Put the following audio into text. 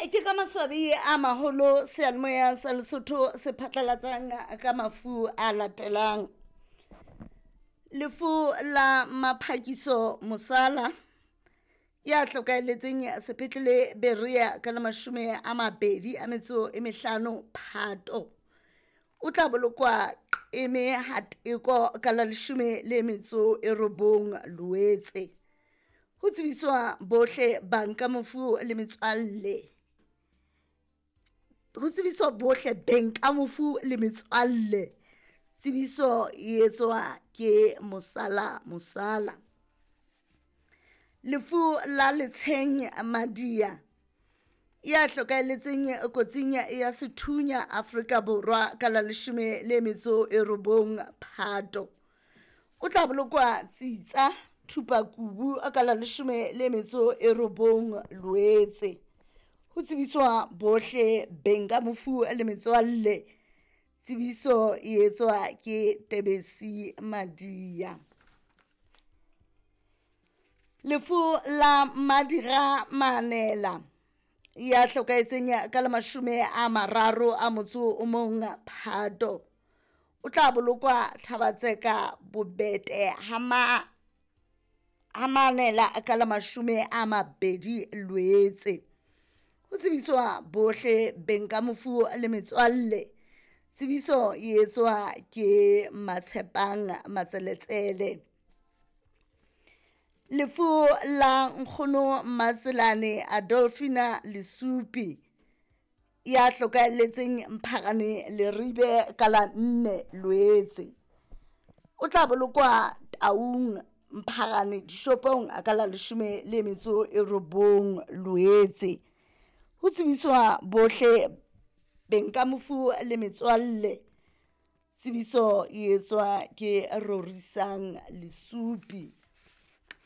Ke ka maswabi a maholo seyalemoya sa Lesotho se phatlalatsang ka mafu a latelang. Lefu la Maphakiso Mosala ya hlokahelletseng sepetlele Berea ka la 25 Phato. O tla bolokwa Qeme ha Teko ka la 19 Loetse. Ho tsebiswa bohle bang ka mofu le metswalle. Ho tsebiswa bohle beng ka mofu le metswalle. Tsebiso e etswa ke Mosala Mosala. Lefu la Letsheng Madia ya hlokahelletseng kotsing ya sethunya Afrika Borwa ka la 19 Phato. O tla bolokwa Tsitsa Thupakubu ka la 19 Loetse. Ho tsebiswa bohle beng ka mofu le metswalle. Tsebiso e etswa ke Tebesi Madia. Lefu la Madira Manela ya hlokahetseng ka la 31 Phato. O tla bolokwa Thabatseka Bobete ha Manela ka la 20 Loetse. Ho tsebiswa bohle beng ka mofu le metswalle. Tsebiso e etswa ke Matshepang Matseletsele. Lefu la Nkgono Matselane Adolfina Lesupi ya hlokahelletseng Mpharane Leribe ka la 4 Loetse. O tla bolokwa Taung Mpharane dishopong ka la 19 Loetse. Ho tsebiswa bohle beng ka mofu le metswalle. Tsebiso e etswa ke Rorisang Lesupi.